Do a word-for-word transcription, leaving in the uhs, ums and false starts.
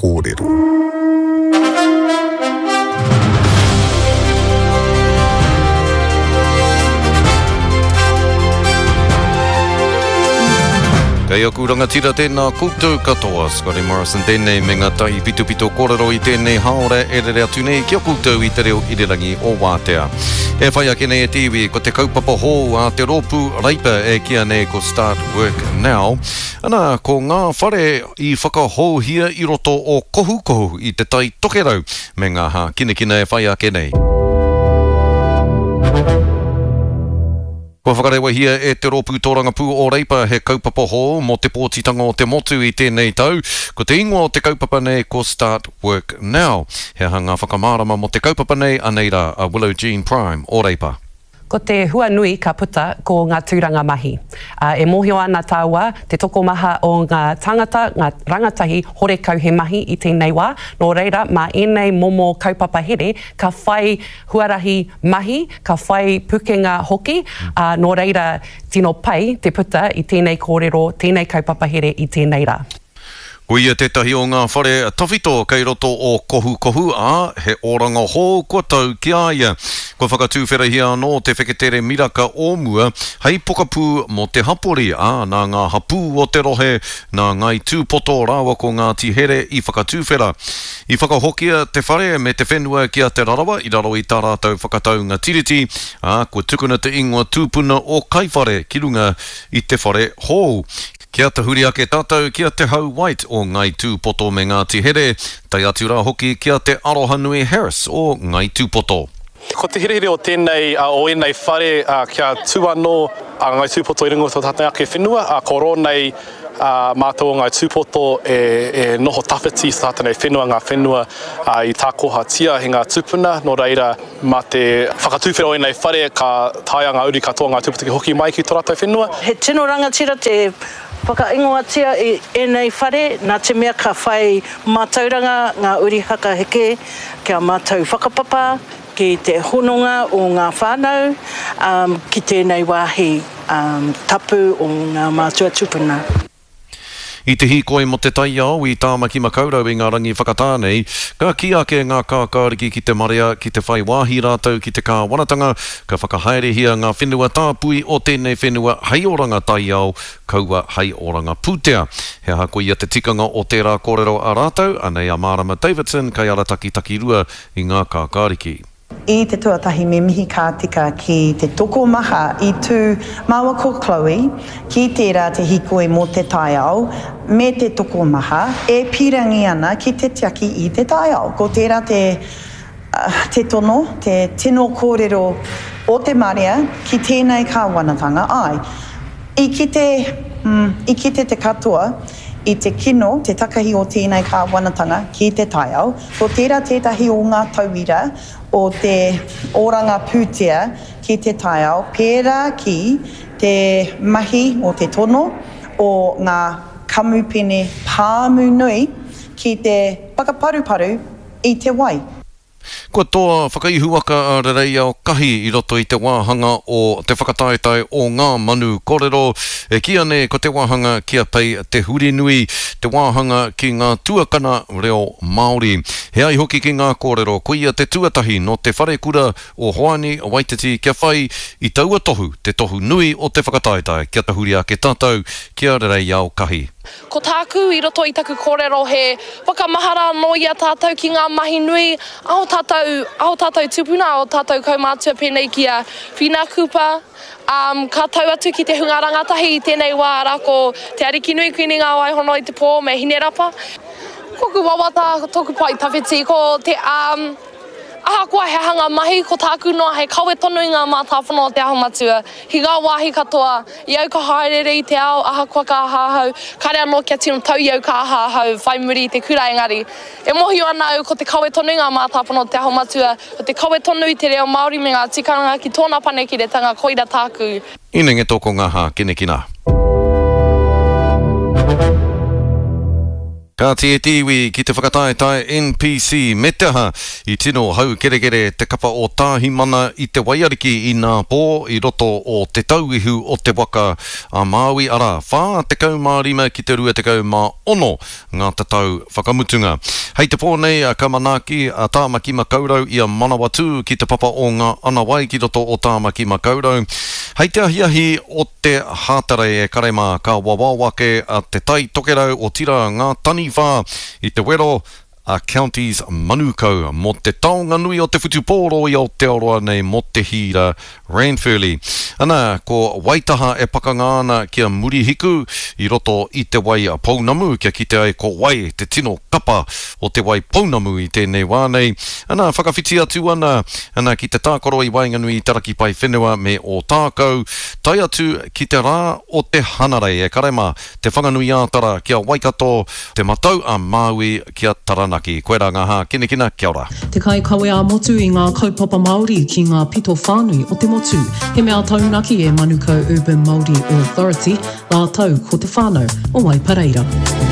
Kōrero. Kei aku rangatira tēnā koutou katoa, Scotty Morrison tēnei me ngā tahi pitopito kōrero i tēnei haora e rere atu nei ki a koutou i te reo irirangi o Wātea. E whai ake nei e te iwi, ko te kaupapa hou a te rōpū Reipa e kīa nei ko Start Work Now. Ana, ko ngā whare i whakahouhia i roto o Kohukohu i te Tai Tokerau me ngā hākinakina e whai ake nei. Kua whakarewahia e te rōpū tōrangapū o Reipa he kaupapa hou mō te pōtitanga o te motu i tēnei tau. Ko te ingoa o te kaupapa nei ko Start Work Now. He aha ngā whakamārama mō te kaupapa nei, anei rā a Willow Jean Prime o Reipa. Ko te hua nui ka puta ko ngā tūranga mahi. E mōhio ana tāua te tokomaha o ngā tāngata, ngā rangatahi horekau he mahi i tēnei wā. Nō reira, mā ēnei momo kaupapa here ka whai huarahi mahi, ka whai pukenga hoki. Nō reira, tino pai te puta i tēnei kōrero, tēnei kaupapa here i tēnei rā. Ko ia tētahi o ngā whare tawhito kei roto o Kohukohu, ā, he oranga hou kua tau ki a ia. Kua whakatūwherahia anō te wheketere miraka o mua hei pokapū mō te hapori, ā, nā ngā hapū o te rohe, nā Ngāi Tūpoto rāua ko Ngāti Here i whakatūwhera. I whakahokia te whare me te whenua ki a Te Rarawa i raro i tā rātou whakataunga tiriti, ā, kua tukuna te ingoa tūpuna o Kaiwhare ki runga i te whare hou. Kia tahuri ake tātou ki a Te Hau White o Ngāi Tūpoto me Ngāti Here, tae atu rā hoki ki a Te Arohanui Harris o Ngāi Tūpoto. Ko te herehere o tēnei, o ēnei whare kia tū anō a Ngāi Tūpoto i runga o tō tātou ake whenua, ko rō nei mātou o Ngāi Tūpoto e, e noho tawhiti i tātou nei whenua, ngā whenua i tākohatia he ngā tūpuna, nō reira mā te whakatūwhera o ēnei whare ka taea ngā uri katoa Ngāi Tūpoto ki hoki mai ki tō rātou whenua. He tino rangatira te whakaingoatia i ēnei whare, nā te mea ka whai mātauranga ngā uri hakaheke kia mātau whakapapa ki te hononga o ngā whānau um, ki tēnei wāhi um, tapu o ngā mātua tūpuna. I te hīkoi mō te taiao i Tāmaki Makaurau i ngā rangi whakatā nei, ka kī ake ngā kākāriki ki te marea ki te whai wāhi rātou ki te kāwanatanga, ka whakahaerehia ngā whenua tāpui o tēnei whenua hei oranga taiao, kaua hei oranga pūtea. He aha koia te tikanga o tērā kōrero a rātou, anei a Marama Davidson kei arataki takirua i ngā kākāriki. I te tuatahi me mihi ka tika ki te tokomaha i tū māua ko Chloe ki tērā te hīkoi mō te taiao me te tokomaha e pīrangi ana ki te tiaki i te taiao. Ko tērā te, te tono, te tino kōrero o te marea ki tēnei kāwanatanga ai. I kite, mm, i kite te katoa i te kino, te takahi o tēnei kāwanatanga ki te taiao, ko tērā tētahi o ngā tauira o te oranga pūtea ki te taiao, pērā ki te mahi o te tono o ngā kamupene pāmu nui ki te whakaparuparu i te wai. Kua toa whakaihuwaka a Rereiao Kahi i roto i te wāhanga o te whakataetae o ngā manu kōrero. E kīa nei ko te wāhanga ki a Pei Te Hurinui, te wāhanga ki ngā tuakana reo Māori. He ai hoki ki ngā kōrero, koia te tuatahi no te wharekura o Hoani Waititi kia whai i taua tohu, te tohu nui o te whakataetae, kia tahuri ake tātou ki a Rereiao Kahi. Ko tāku i roto i taku kōrero he whakamahara anō i a tātou ki ngā mahi nui a o tātou, a o tātou tupuna, a o tātou kaumātua pēnei ki a Whina Cooper. Um, ka tau atu ki te hunga rangatahi i tēnei wā arā ko Te Arikinui Kuini Ngā Waihono i te pō me Hinerapa. Koku wawata, tōku pai tawhiti, ko te um, ahakoa he hanga mahi, ko tāku noa hei kawe tonu i ngā mātāpono o Te Aho Matua. Ki ngā wāhi katoa, i au ka haerere i te ao, ahakoa ka aha ahau, kare anō kia tino tau i au ka aha ahau, whai muri i te kura engari. E mōhio ana au ko te kawe tonu i ngā mātāpono o Te Aho Matua, ko te kawe tonu i te reo Māori me ngā tikanga ki tōna panekiretanga, koira tāku. Inenge tō ko ngā hākinakina. Ka Kāti e te iwi ki te whakataetae NPC me te aha i tino haukerekere te kapa o Tāhimana i te waiariki inā pō i roto o Te Tauihu o te Waka a Māui arā, whā tekau mā rima ki te rua tekau mā ono ngā tatau whakamutunga. Hei te pō nei ka manaaki a Tāmaki Makaurau i a Manawatū ki te papa o Ngā Anawai ki roto o Tāmaki Makaurau. Hei te ahiahi o te Hātarei e kare mā ka wawao ake a Te Tai Tokerau otirā ngā taniwha i te wero a Counties Manukau mō te taonga nui o te whutupōro i Aotearoa nei mō te hīra Ranfurly. Ana, ko Waitaha e pakanga ana ki a Murihiku i roto i Te Wai Pounamu kia kite ai ko wai te tino kapa o Te Wai Pounamu i tēnei wā nei. Ana, whakawhiti atu ana, ana ki te tākaro i waenganui i Te Raki Paewhenua me Ōtākou, tae atu ki te rā o te Hanarei e kare mā, Te Whanganui-ā-Tara ki a Waikato, Te Matau a Māui ki a Taranaki. Koirā ngā hākinakina, kia ora. Te kaikawe ā-motu i ngā kaupapa Māori ki ngā pito whānui o te motu. He mea taunaki e Manukau Urban Māori Authority rātou ko te whānau o Waipareira.